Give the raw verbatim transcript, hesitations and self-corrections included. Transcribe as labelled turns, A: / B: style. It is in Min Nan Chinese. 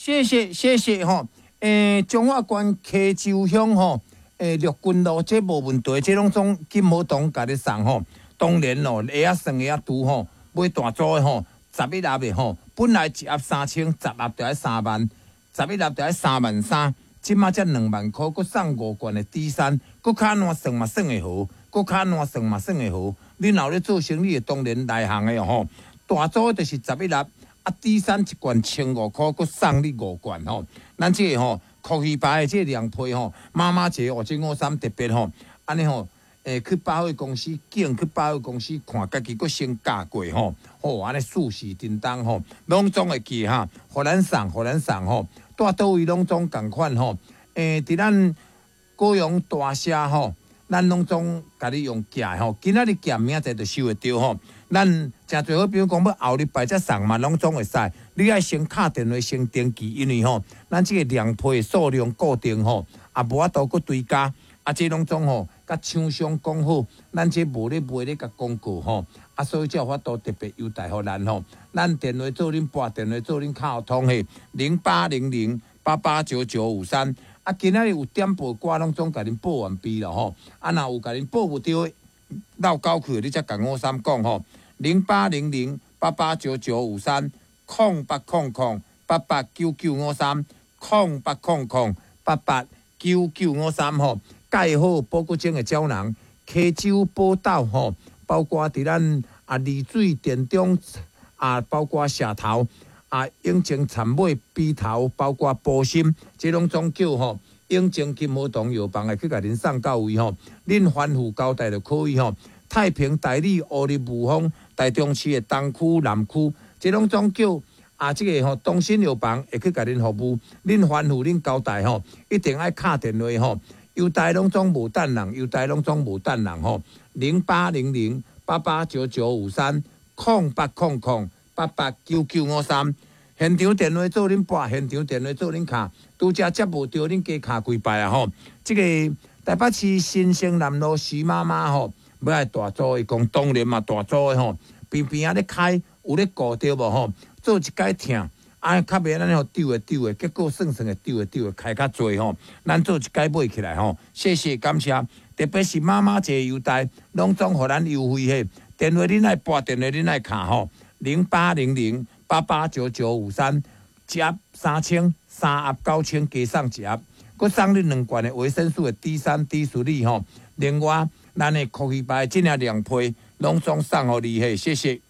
A: 謝謝謝謝吼。欸，彰化縣溪州鄉吼，欸，陸軍路這無問題，這攏總金和堂共你送吼。當然咯，會曉算會曉除吼，買大組的吼，十一盒的吼，本來一盒三千，十盒就愛三萬，十一盒就愛三萬三，這馬才兩萬箍，閣送五罐的 D 三，閣較按怎算嘛算會好，閣較按怎算嘛算會好。你若有咧做生意的，當然內行的吼，大組就是十一盒。啊，D 三一罐千五箍，閣送你五罐吼。咱這個吼，酷魚牌的這個涼皮吼，媽媽節哦，這五三特別吼，按呢吼，欸，去百貨公司景，去百貨公司看，家己閣先價過吼，吼，按呢順時叮當吼，攏總會記哈，予咱送，予咱送吼，蹛佗位攏總仝款吼，欸，佇咱高雄大社吼，咱攏總共你用寄吼，今仔日寄明仔載就收會著吼。咱誠濟好朋友講欲後禮拜才送嘛，攏總會使。你愛先敲電話先登記，因為吼，咱這個涼皮的數量固定吼，也無法度閣追加。啊，這攏總吼，佮廠商講好，咱這無咧賣咧共廣告吼，啊，所以才有法度特別優待予咱吼。咱電話做恁撥電話做恁敲通的零八零零八八九九五三。啊，今仔日有點報歌，攏總共恁報完畢了吼。啊，若有共恁報無著的，落狗去，你才共五三講吼。零八零零八八九九五三，空八空空八八九九五三，空八空空八八九九五三吼。蓋好保骨精的膠囊，溪州寶島吼，包括佇咱啊麗水田中啊，包括社頭啊，永靖杉尾埤頭，包括埔心，這攏總叫吼永靖金和堂藥房會去共恁送到位吼，恁吩咐交代就可以吼。太平、大里、烏日、霧峰、台中市的東區、南區，這攏總叫啊，這個吼東新藥房會去共恁服務，恁吩咐恁交代吼，一定愛敲電話吼。郵袋攏總無等人，郵袋攏總無等人吼。零八零零八八九九五三，空八空空八八九九五三。現場電話做恁撥，現場電話做恁敲，拄才接無著，恁加敲幾擺啊吼。這個台北市新生南路徐媽媽吼，欲愛大組，伊講當然嘛大組的吼，邊邊仔咧開有咧顧著無吼？做一擺疼，啊，較袂按呢予丟的丟的，結果算算會丟的丟的開較濟吼。咱做一擺買起來吼，謝謝感謝，特別是媽媽節優待，攏總予咱優惠嘿。電話恁愛撥，電話恁愛敲吼，零八零零八八九九五三，一盒三千，三盒九千，加送一盒，閣送你兩罐的維生素的 D 三、D 四吼。另外，咱的酷魚牌這領涼皮，攏總送予你嘿，謝謝。